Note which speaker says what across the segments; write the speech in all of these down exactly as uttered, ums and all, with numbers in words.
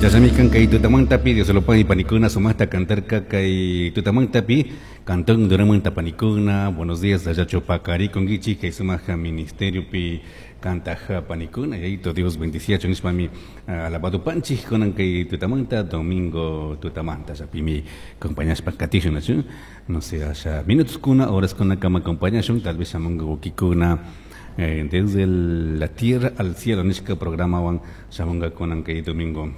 Speaker 1: Chasamikan kay tutamantapi Dios lo pague panikuna sumaqta cantarka kay tutamantapi cantón duramanta panikuna. Buenos días allá chupacari conguichi kay sumaja ministerio pi cantaja panikuna yayito Dios bendiciacho nishpami alabado panchi kunan kay tutamanta domingo tutamanta yapimi acompañashpa katishun nachu no sé allá minutos kuna horas kuna kama acompañashun tal vez shamunga wikikuna. Eh, desde el, la tierra al cielo nishka programa wan shamunga kunan kay domingo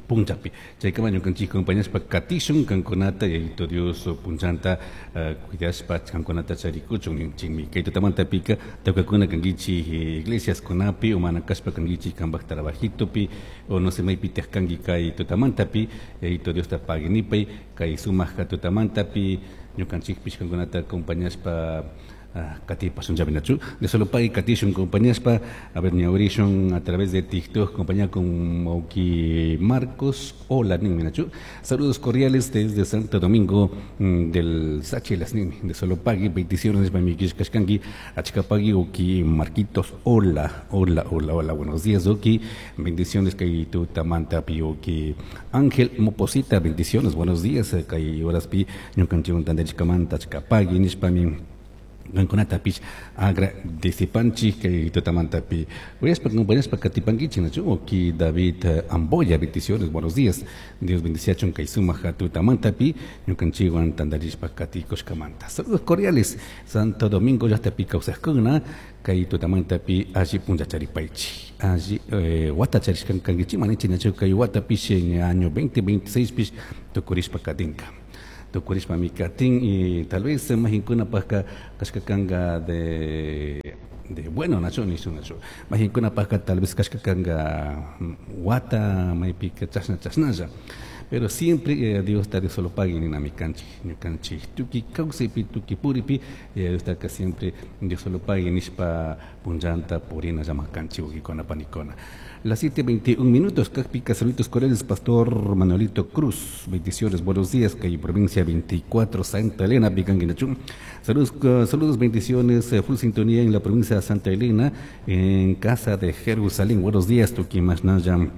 Speaker 1: punchapi chaykama ñukanchik compañaspa katishun kankunata yayito Dios punchanta uh, cuidashpa kankunata charikuchun ninchikmi kay tutamantapika tawkakuna kankichik iglesias kunapi o mana kashpa kankichik kanpak trabajitopi o no sé maypitaq kanki kay tutamantapi yayito Diosta paginipay kay sumaqka tutamantapi ñukanchikpish kankunata acompañashpa katipasun llaminachu de solo pay katishun compañaspa a ver ñawrishun a través de TikTok compañía con Mauki Marcos hola niminachu saludos cordiales desde Santo Domingo del Sachilas nimi de solo pagui bendiciones pa mi kishkashkanki achkapagui Oki Marquitos hola hola hola hola buenos días Oki bendiciones kay tutamanta pi Oki Ángel Moposita bendiciones buenos días kay horas pi ñukanchikwan tantachkamanta achkapagui nishpami gankunatapish agradecipanchik kay tutamantapi uyaspa compañaspa katipankichik nachu Oki David Amboya bendiciones buenos días Dios bendiciachun kay sumaja tutamantapi ñukanchikwan tantarishpa katikushkamanta saludos cordiales Santo Domingo llaqtapi kawsaqkuna kay tutamantapi alli punchacharipaychik alli eh, wata charishkan kankichik manichik nachu kay watapish en año veinte veintiséis pish tukurishpa katinka tukurishpa mikatin y tal vez mahinkunapajka kashkakanga de de bueno nacho nisu nacho mahinkunapajka tal vez kashkakanga wata maypika chashna chashnalla pero siempre eh, Dios ta de solo pague ni namikanchik ñukanchik tuki kawsaypi tuki puripi eh, Dios ta siempre Dios solo pague nishpa punllanta purina llamakanchik wikikuna panikuna. Las siete veintiún minutos, Cajpica, saluditos cordiales, Pastor Manuelito Cruz, bendiciones, buenos días, calle provincia veinticuatro, Santa Elena, Picanguinachún. Saludos, uh, saludos, bendiciones, eh, full sintonía en la provincia de Santa Elena, en Casa de Jerusalén. Buenos días, Tuquimasnaya,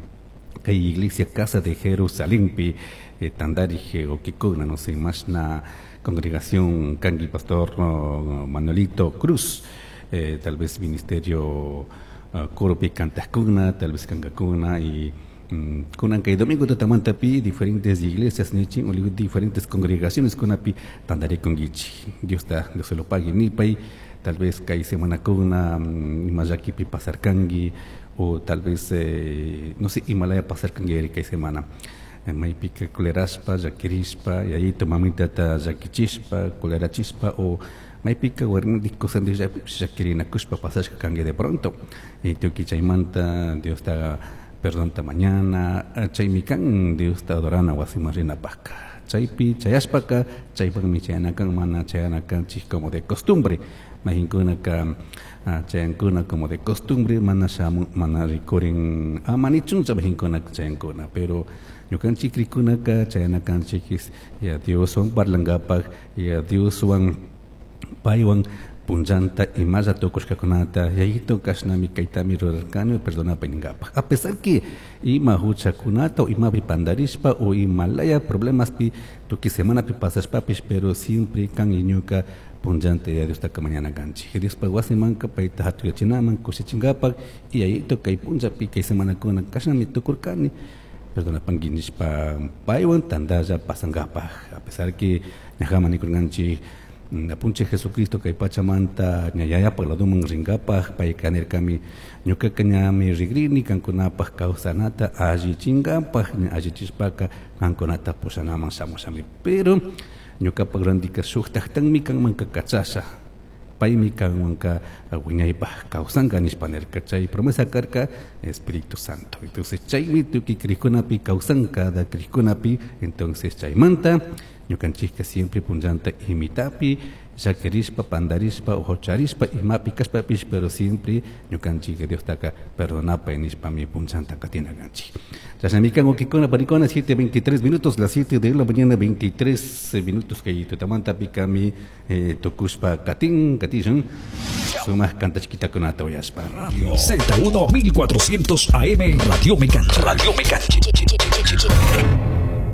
Speaker 1: calle Iglesia Casa de Jerusalén, pi, eh, Tandarije, Oquicona, no sé, más na congregación, Cangui, Pastor uh, Manuelito Cruz, eh, tal vez ministerio. Uh, Coropi Cantascuna, tal vez Cangacuna y um, kunan kay domingo tutamantapi diferentes iglesias nichin o diferentes congregaciones kunapi tandare kongichi Dios ta Dios se lo pague nipay tal vez kay semana kuna um, imayakipi pasarkangi o tal vez eh, no sé Himalaya pasarkangi kay semana maypika kuleraspa yakirispa y ahí mamita ta yakichispa kulerachispa o maypika warmindik cosas yakirinakushpa pasashka kanki de pronto y tuki chaymanta Dios ta perdonta mañana chaymi kan Dios ta adorana wasiman rinapajka chaypi chayashpaka chaypaqmi chayanakan mana chayanakanchik como de costumbre mayinkunaka chayankuna como de costumbre mana shamun mana rikurin amanichuncha mayinkuna chayankuna pero ñukanchik rikunaka chayanakanchik ya Dioswan parlankapaq ya Dioswan paywan punllanta imalla tukushkakunata yayito kashnami kaytami rurarkani perdonapay ninkapaq a pesar que ima huchakunata o imapi pandarishpa o imalaya problemaspi tukuy semanapi pasashpapish pero siempre kan ñuka punllanta ya Diostaka mañana kanchik Diospa wasimanka payta hatuyachinaman kushichinkapak y yayito kay punllapi kay semanakuna kashnami tukurkani perdonapanki nishpa paywan tantalla pasankapaq a pesar que ñajaman nikurkanchik Apunche Jesucristo kay pachamanta ñayayapaq laduman rinkapaq payka nirkami ñukaka ñami rigrini kankunapaq kawsanata allichinkapak allichishpaka kankunata pushanaman shamushami pero ñukapak randika shuktaqtanmi kanmanka kachasha paymi kanmanka wiñaypaq kawsanka nishpa nirka chay promesa karka Espíritu Santo entonces chaymi tukuy krikunapi kawsan cada krikunapi entonces chaymanta ñukanchikka siempre punllanta imitapi llakirishpa pandarishpa ujocharispa imapi kashpapish pero siempre ñukanchik Diostaka perdonapay nishpami punllanta katinakanchik chashnami kan wawqikuna panikuna siete veintitrés minutos las siete de la mañana veintitrés minutos kay tutamantapi kami eh, tukushpa katin katishun sumaq kantachkitakunata uyashpa
Speaker 2: Z uno mil cuatrocientos A M Radio Mecancha Radio Mecancha.